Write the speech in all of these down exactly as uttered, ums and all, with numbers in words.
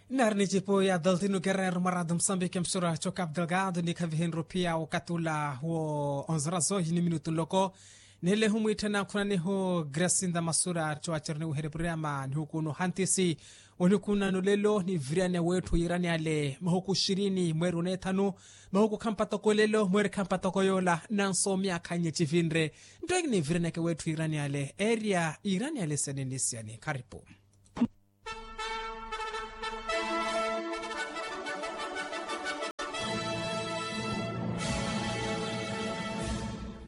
Nari nicipo ya daltino kerneru mwarado musambiki msura cho cap delgado ni khavihenru pia wakati ula wo onzerazo yini minutu nloko. Nele humwitthana khunanihu gracinda masura cho achereniweherya puriama nihukuno hantisi. Onikunano lelo ni viriania wetthu yirani ale mahuku shirini mweri onethanu. Mahuku khampatoko lelo mweri khampatoko yola nanso miakha nye chivinre. Nto ekini virianiake wetthu yirani ale eria yirani ale sene ni siani kharipu.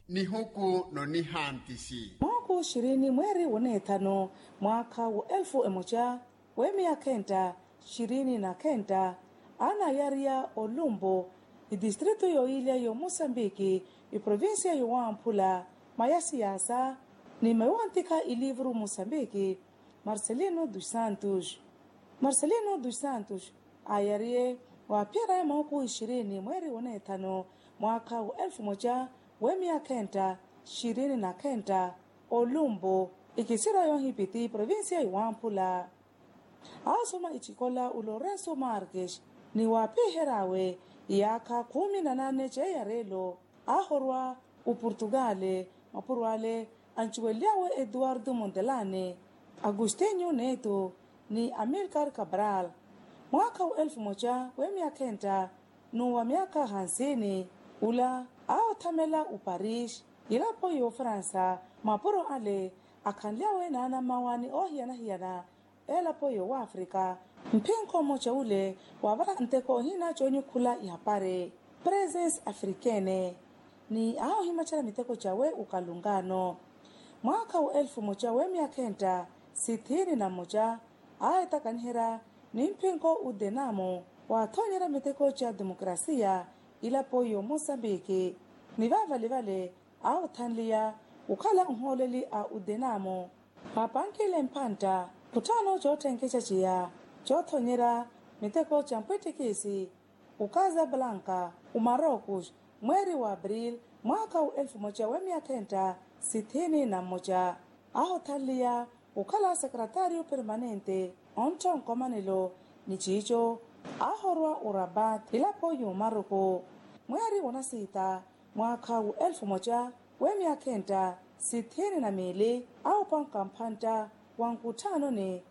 Nihuku nonihantisi. Mahuku shirini mweri wonethanu mwaakha wa elfu emoca wemiya khenta shirini na khenta. Anayariya olumbo itistritu yoyilya yomusambiki iprovincia yowamphula maya siyasa ni mayowantikha ilivuru musambiki. Marcelino dos santos marcelino dos santos ayariye waphiyeraya mahuku ishirini mweri wonethanu mwaakha wa elfu moca wemiya khenta shirini na khenta olumbo ikisira yohipiti provincia iwamphula. Aasoma icikola ulorenso marques ni waaphiheryawe iyaakha khumi na nane ceeyarelo. Ahorwa oportugale mapuro ale ancuwelyawe eduardo mondelane agustinho neto ni amilcar cabral. Mwaakha wa elfu moca wemiya khenta n'uwa myaka hansini ula aawathamela oparis ilapo y'ofaransa mapuro ale akhanlyawe naanammawa ni oohiyana-hiyana elapo y'owafrika. Mphinkho mmoca ule wavara nteko ohina coonyukhula ihapari presence africaine ni aahimacela miteko cawe okalungano. Mwaakha wa elfu mmoca w'emyakha enta sithini na mmoca aahitakaniherya ni mphinkho udenamo waathoonyerya miteko ca demokrasia ilapo y'omosambiki ni vaavale vale aawathanliya okhala nhooleli a udenamo. Vaapankile mphantta khutthaano cootthenkexa ciya coothonyerya miteko ca mpwittikisi okazablanka omarokos mweeri wa april mwaakha wa elfu mmoca w'emyakha enta sithini na mmoca. Aahothanliya okhala sekretario permanente ontthonkomanelo ni ciico aahorwa orabat ilapo y'omaroko. Mweeri wonasiita mwaakha wa elfu mmoca w'emyakha enta sithini na miili aawupanka mphantta wa nkutthaanoni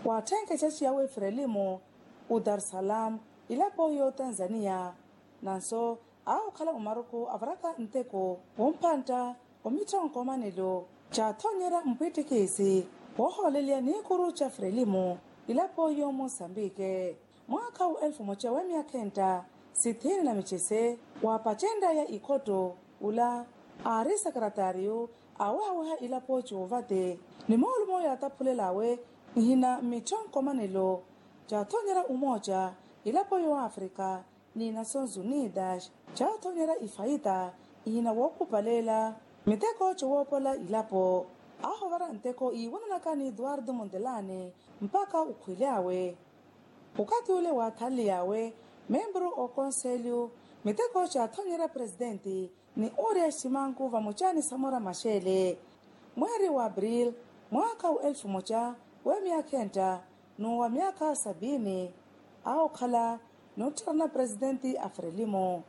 waatthenkexa ciya w'efrelimo odarsalam ilapo y'otanzania. Nanso aahokhala omaroko avaraka nteko w'omphantta omitthonkomanelo caathoonyerya mpwittikisi woohoolelya niikuru ca frelimo ilapo y'omosambike. Mwaakha wa elfu mmoca w'emyakha enta sithini na micese waapaccenryaya ikhotto ula aari sekretario aawehaweha ilapo c'ovate ni moolumo yaataphulel'awe ihina mmitthonkomanelo caathoonyerya omooca ilapo y'oafrika ni nations unidas caathoonyerya ifaita ihina wookhupaleela miteko cowoopola ilapo. Aahovara nteko iiwananaka ni eduardo mondelane mpakha okhwilyawe okathi ule waathanliy'awe membru okonselyu miteko caathoonyerya presitenti ni oria ximanku vamoca ni samora maxele. Mweeri wa april mwaakha wa elfu mmoca w'emyakha enta n'uwa myaakha sabini aahokhala n'ottharana presitenti a frelimo.